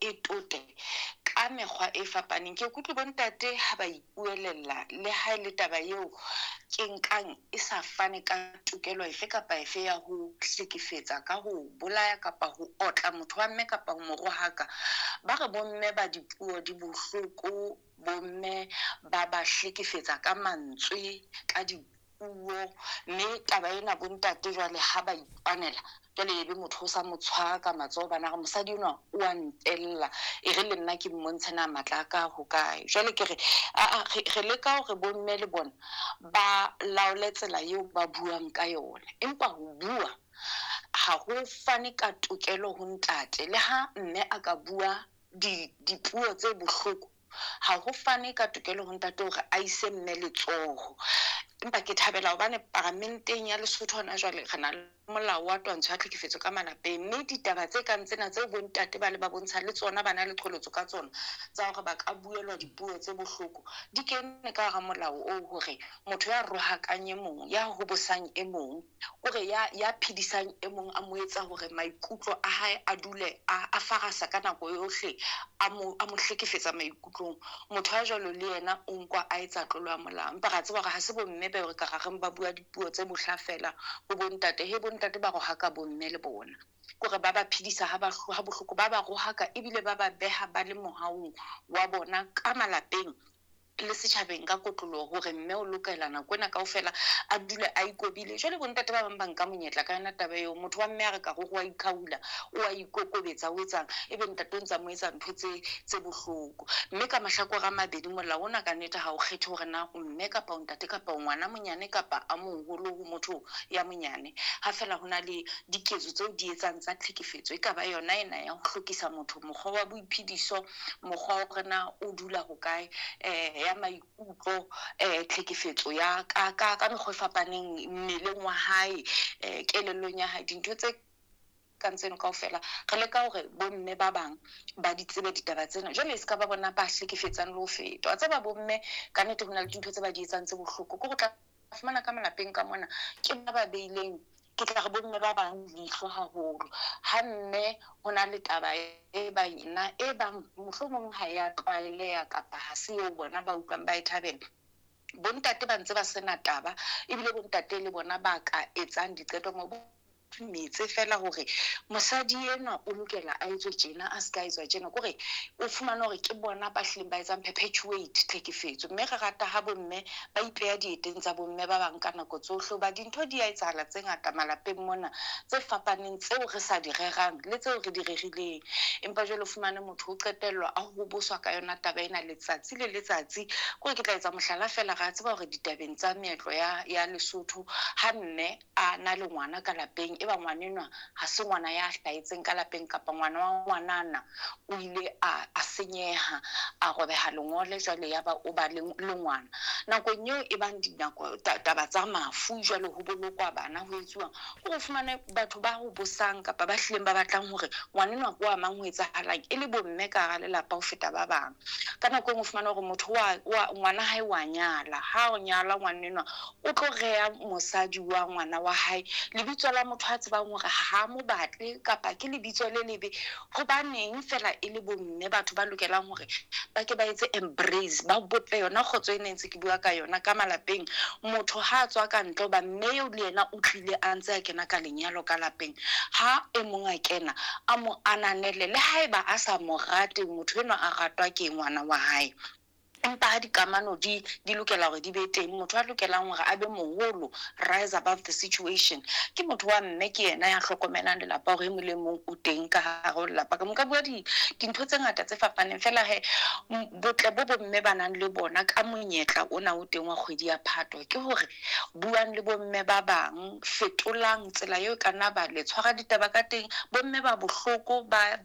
E tote ka mekgwa e fapaneng. Ke kutlwe bontate ha ba ipuelella, le ha e le taba eo ke nkang e sa fane ka tokelo efe kapa efe ya ho hlekefetsa ka ho bolaya kapa ho otla motho wa mme kapa ho mo rohaka. Ba re bomme ba dipuo di bohloko, bomme ba ba hlekefetsa ka mantswe, ka dipuo, mme taba ena bontate jwale ha ba ipanela, jwale ebe motho o sa mo tshwara ka matsoho, bana re mosadi enwa o a ntella, e re le nna ke mmontshe na matla a ka ho kae. Jwale ke re re leka hore bomme le bona ba laole tsela eo ba buang ka yona, empa ho bua ha ho fane ka tokelo ho ntate. Le ha mme a ka bua dipuo tse bohloko, ha ho fane ka tokelo ho ntate hore a ise mme letsoho. Empa ke thabela hobane paramenteng ya Lesotho hona jwale re na le molao wa twantsho ya tlhekefetso ka malapeng, mme ditaba tse kang tsena tseo bontate ba le ba bontsha le tsona ba na le qholotso ka tsona tsa hore ba ka buelwa dipuo tse bohloko, di kene ka hara molao oo hore motho ya rohakang e mong, ya hobosang e mong, kore ya phedisang e mong, a mo etsa hore maikutlo a hae a dule a farasa ka nako yohle, a mo hlekefetsa maikutlong, motho ya jwalo le yena o nkwa a etsa tlolo ya molao. Empa re a tseba hore ha se bomme ba re ka reng ba bua dipuo tse bohla fela ho bontate, he bontate ba rohaka bomme le bona, kore ba ba phedisa ha bohloko, ba ba rohaka ebile ba ba beha ba le mohaung wa bona ka malapeng le setjhabeng ka kotloloho, hore mme o lokela nako ena kaofela a dule a ikobile. Jwale bontate ba bang ba nka monyetla ka yona taba eo, motho wa mme a re ka hore wa ikhaula, o a ikokobetsa, o etsang, ebe ntate o ntsa mo etsa ntho tse bohloko. Mme ka mahlakore a mabedi molao ona ka nnete ha o kgethe hore na o mme kapa o ntate kapa o ngwana monyane kapa a moholo ho motho ya monyane, ha fela ho na le diketso tseo di etsang tsa tlhekefetso, e ka ba yona ena ya ho hlokisa motho mokgwa wa boiphediso, mokgwa wa hore na o dula hokae, ya maikutlo, tlhekefetso ya ka mekgwa e fapaneng mmeleng wa hae, kelellong ya hae, dintho tse kang tseno kaofela re leka hore bomme ba bang ba di tsebe ditaba tsena. Jwale e se ka ba bona ba hlekefetsang le ho feta. Wa tseba bomme ka nnete ho na le dintho tse ba di etsang tse bohloko, ke ho tla fumana ka malapeng ka mona ke ba beileng, ke tla re bomme ba bang leihlo haholo. Ha mme ho na le taba e bang ena, e bang mohlomong ha ya tlwaeleha kapa ha se eo bona ba utlwang ba e thabela, bontate ba ntse ba sena taba, ebile bontate le bona ba ka etsang diqeto mo metse fela hore mosadi enwa o lokela a etswe tjena, a se ka etswa tjena, kore o fumane hore ke bona ba hlileng ba etsang perpetuate tlhekefetso. Mme re rata ha bomme ba ipeha dieteng tsa bomme ba bang ka nako tsohle, hoba dintho di a etsahala tse ngata malapeng mona tse fapaneng tseo re sa di rerang le tseo re di rerileng, empa jwale o fumane motho o qetellwa a hoboswa ka yona taba ena letsatsi le letsatsi. Kore ke tla etsa mohlala fela, re a tseba hore ditabeng tsa meetlo ya Lesotho, ha mme a na le ngwana ka lapeng, e ba ngwanenwa ha se ngwana ya hlahetseng ka lapeng kapa ngwana wa ngwanana o ile a senyeha, a robeha lengole, jwale ya ba o ba le ngwana. Nakong eo e bang dinako taba tsa mafu, jwale ho bolokwa bana, ho etsuwang, o fumane batho ba ho bosang kapa ba hlileng ba batlang hore ngwanenwa ke wa mang, ho etsahalang, e le bomme ka hara lelapa ho feta ba bang. Ka nako e nngwe o fumane hore motho wa ngwana hae wa nyala, ha o nyala ngwanenwa o tlo reha mosadi wa ngwana wa hae lebitso la motho a tsebang hore ha mo batle kapa ke lebitso le lebe. Hobaneng fela e le bomme batho ba lokelang hore ba ke ba etse embrace, ba bope yona kgotso e ne ntse ke bua ka yona ka malapeng. Motho ha a tswa ka ntle, hoba mme eo le yena o tlile a ntse a kena ka lenyalo ka lapeng, ha e mong a kena a mo ananele, le haeba a sa mo rate motho enwa a ratwa ke ngwana wa hae, empa ha dikamano di lokela hore di be teng, motho a lokelang hore a be moholo, rise above the situation, ke motho wa mme, ke yena ya hlokomelang lelapa hore e mong le mong o teng ka hare ho lelapa. Ka mo ka bua dintho tse ngata tse fapaneng fela he, botle bo bomme ba nang le bona ka monyetla ona o teng wa kgwedi ya Phato ke hore buang le bomme ba bang, fetolang tsela eo ka nna ba le tshwara ditaba ka teng. Bomme ba bohloko ba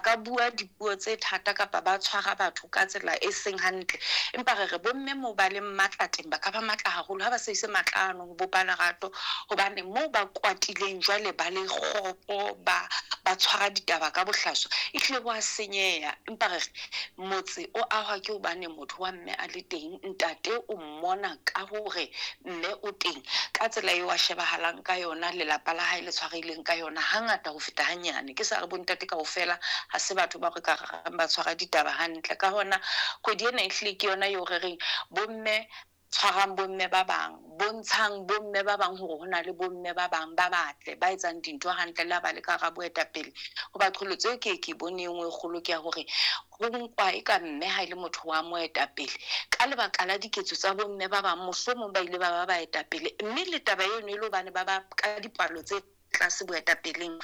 ka bua dipuo tse thata kapa ba tshwara batho ka tsela e seng hantle. hantle. Empa re re bomme moo ba leng matla teng, ba ka ba matla haholo ha ba sebedise matla ano ho bopa lerato, hobane moo ba kwatileng jwale ba le kgopo, ba tshwara ditaba ka bohlaswa, ehlile bo a senyeha. Empa re re motse o ahwa ke hobane motho wa mme a le teng, ntate o mmona ka hore mme o teng, ka tsela eo a shebahalang ka yona, lelapa la hae le tshwarehileng ka yona, hangata ho feta hanyane. Ke sa re bontate kaofela ha se batho ba re ka reng ba tshwara ditaba hantle. Ka hona kgwedi ena ehlile ke yona eo re reng bomme tshwarang bomme ba bang, bontshang bomme ba bang hore ho na le bomme ba bang ba batle ba etsang dintho hantle le ha ba le ka hara boetapele. Hoba qholotso eo ke bone e nngwe e kgolo ke ya hore ho nkwa e ka mme ha e le motho wa moetapele ka lebaka la diketso tsa bomme ba bang, mohlomong ba ile ba ba baetapele, mme le taba eno e le hobane ba ba ka dipalo tse tlase boetapeleng.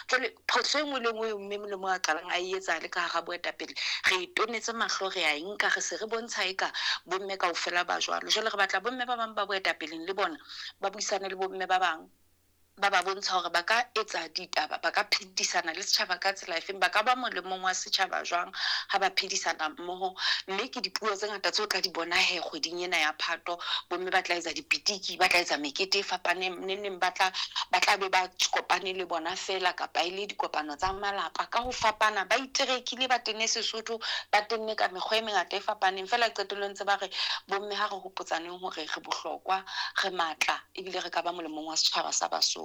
Jwale phoso e nngwe le nngwe eo mme Molemo a qalang a e etsa le ka hara boetapele, re e tonetse mahlo, re a e nka, re se re bontsha eka bomme kaofela ba jwalo. Jwale re batla bomme ba bang ba boetapeleng le bona ba buisane le bomme ba bang, ba ba bontsha hore ba ka etsa ditaba, ba ka phedisana le setjhaba ka tsela efeng, ba ka ba molemong wa setjhaba jwang ha ba phedisana mmoho. Mme ke dipuo tse ngata tseo o tla di bona he kgweding ena ya Phato. Bomme ba tla etsa dipitiki, ba tla etsa mekete e fapaneng, neng neng ba tla be ba kopane le bona fela, kapa e le dikopano tsa malapa ka ho fapana, ba iterekile, ba tenne Sesotho, ba tenne ka mekgwa e mengata e fapaneng. Feela qetellong tse ba re bomme ha re hopotsaneng hore re bohlokwa, re matla, ebile re ka ba molemong wa setjhaba sa Basotho.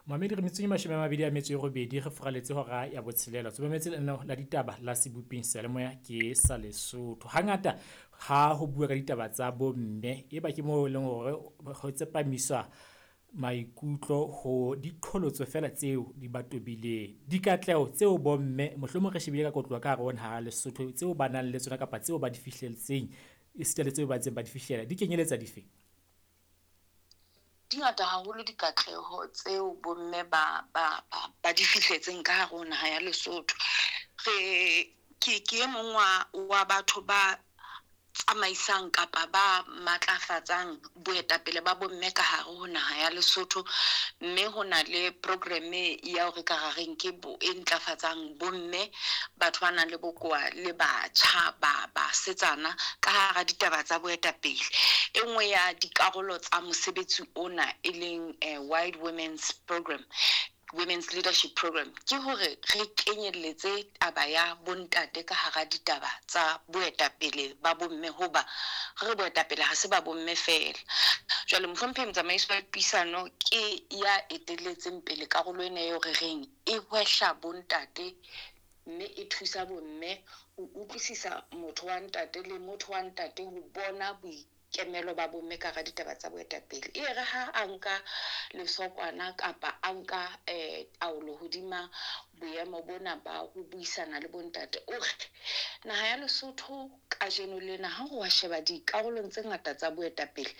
Mamedi re metsong e 28 re furaletse hora ya botshelela. Tsometse lenaneo la ditaba la Seboping Seyalemoya ke sa Lesotho. Hangata ha ho bua ka ditaba tsa bomme e ba ke moo e leng hore ho tsepamiswa maikutlo ho diqholotso fela tseo di ba tobileng, dikatleho tseo bomme mohlomong re shebile ka kotloha ka hare ho naha ya Lesotho tseo ba nang le tsona kapa tseo ba di fihletseng, esita le tseo ba ntseng ba di fihlela, di kenyeletsa dife? Di ngata haholo dikatleho tseo bomme ba di fihletseng ka hare ho naha ya Lesotho. Re ke e mong wa batho ba tsamaisang kapa ba matlafatsang boetapele ba bomme ka hare ho naha ya Lesotho, mme ho na le programme ya hore ka rareng ke bo e ntlafatsang bomme, batho ba nang le bokowa le batjha ba basetsana ka hara ditaba tsa boetapele. E nngwe ya dikarolo tsa mosebetsi ona e leng Wide Women's Program, Women's Leadership Program, ke hore re kenyelletse taba ya bontate ka hara ditaba tsa boetapele ba bomme, hoba re boetapele ha se ba bomme feela. Jwale mohlomphehi motsamaisi wa dipuisano ke ya etelletseng pele karolo ena eo re reng e hwehla bontate mme e thusa bomme ho utlwisisa motho wa ntate le motho wa ntate ho bona boikemelo ba bomme ka hara ditaba tsa boetapele. E re ha a nka lesokwana kapa a nka taolo hodima boemo bona ba ho buisana le bontate, o re naha ya Lesotho kajeno lena ha re wa sheba dikarolong tse ngata tsa boetapele,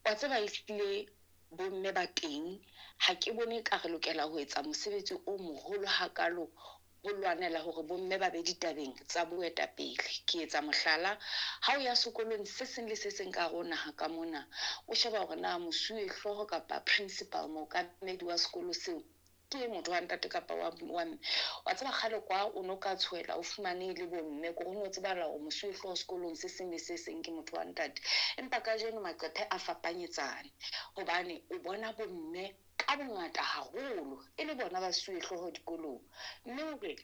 wa tseba ehlile bomme ba teng, ha ke bone ka re lokela ho etsa mosebetsi o moholo hakalo ho lwanela hore bomme ba be ditabeng tsa boetapele. Ke etsa mohlala, ha o ya sekolong se seng le se seng ka hare ho naha ka mona, o sheba hore na mosuwe hlooho kapa principal, mookamedi wa sekolo seo, ke motho wa ntate kapa wa mme. Wa tseba kgale kwa o no ka tshohela o fumane le bomme, ke hore o no tsebahala hore mosuwe hlooho sekolong se seng le se seng ke motho wa ntate. Empa kajeno maqephe a fapanyetsane, hobane o bona bomme ka bongata haholo e le bona basuwe hlooho dikolong. Mme o re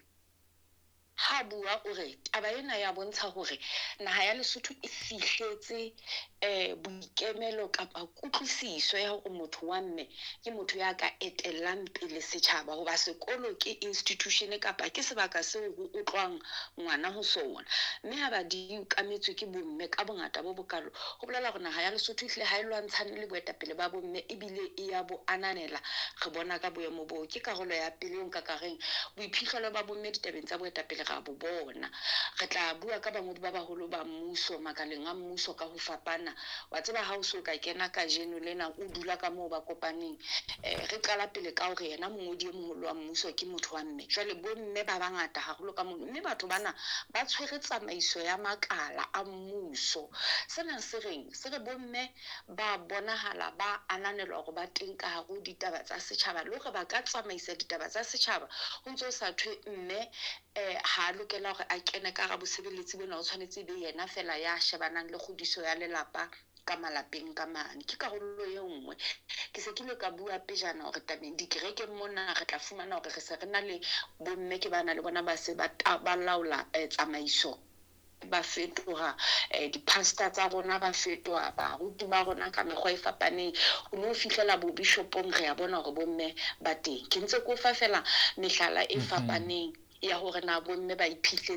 ha bua o re taba ena ya bontsha hore naha ya Lesotho e fihletse boikemelo kapa kutlwisiso ya hore motho wa mme ke motho ya ka etellang pele setjhaba, hoba sekolo ke institution kapa ke sebaka seo ho utlwang ngwana ho sona. Mme ha ba di okametswe ke bomme ka bongata bo bokalo, ho bolela hore naha ya Lesotho ehlile ha e lwantshane le boetapele ba bomme, ebile e ya bo ananela. Re bona ka boemo boo. Ke karolo ya pele eo nka ka reng boiphihlelo ba bomme ditabeng tsa boetapele ra bo bona. Re tla bua ka bangodi ba baholo ba mmuso, makaleng a mmuso ka ho fapana. Wa tseba ha o so ka kena kajeno lena o dula ka moo ba kopaneng, re qala pele ka hore yena mongodi e moholo wa mmuso ke motho wa mme. Jwale bomme ba bangata haholo ka mono, mme batho bana ba tshwere tsamaiso ya makala a mmuso. Sena se reng? Se re bomme ba bonahala ba ananelwa hore ba teng ka hare ho ditaba tsa setjhaba, le hore ba ka tsamaisa ditaba tsa setjhaba ho ntso sa thwe mme Ha a lokela hore a kene ka hara bosebeletsi bona, o tshwanetse e be yena fela ya shebanang le kgodiso ya lelapa ka malapeng ka mane. Ke karolo e nngwe. Ke se ke ile ka bua pejana hore tabeng dikerekeng mona re tla fumana hore re se re na le bomme ke bana le bona ba se ba ba laola tsamaiso, ba fetoha di-pastor tsa rona, ba fetoha baruti ba rona ka mekgwa e fapaneng. Ho no fihlela bo bishopong, re a bona hore bomme ba teng. Ke ntse ke o fa fela mehlala e fapaneng ya hore na bomme ba iphihletse.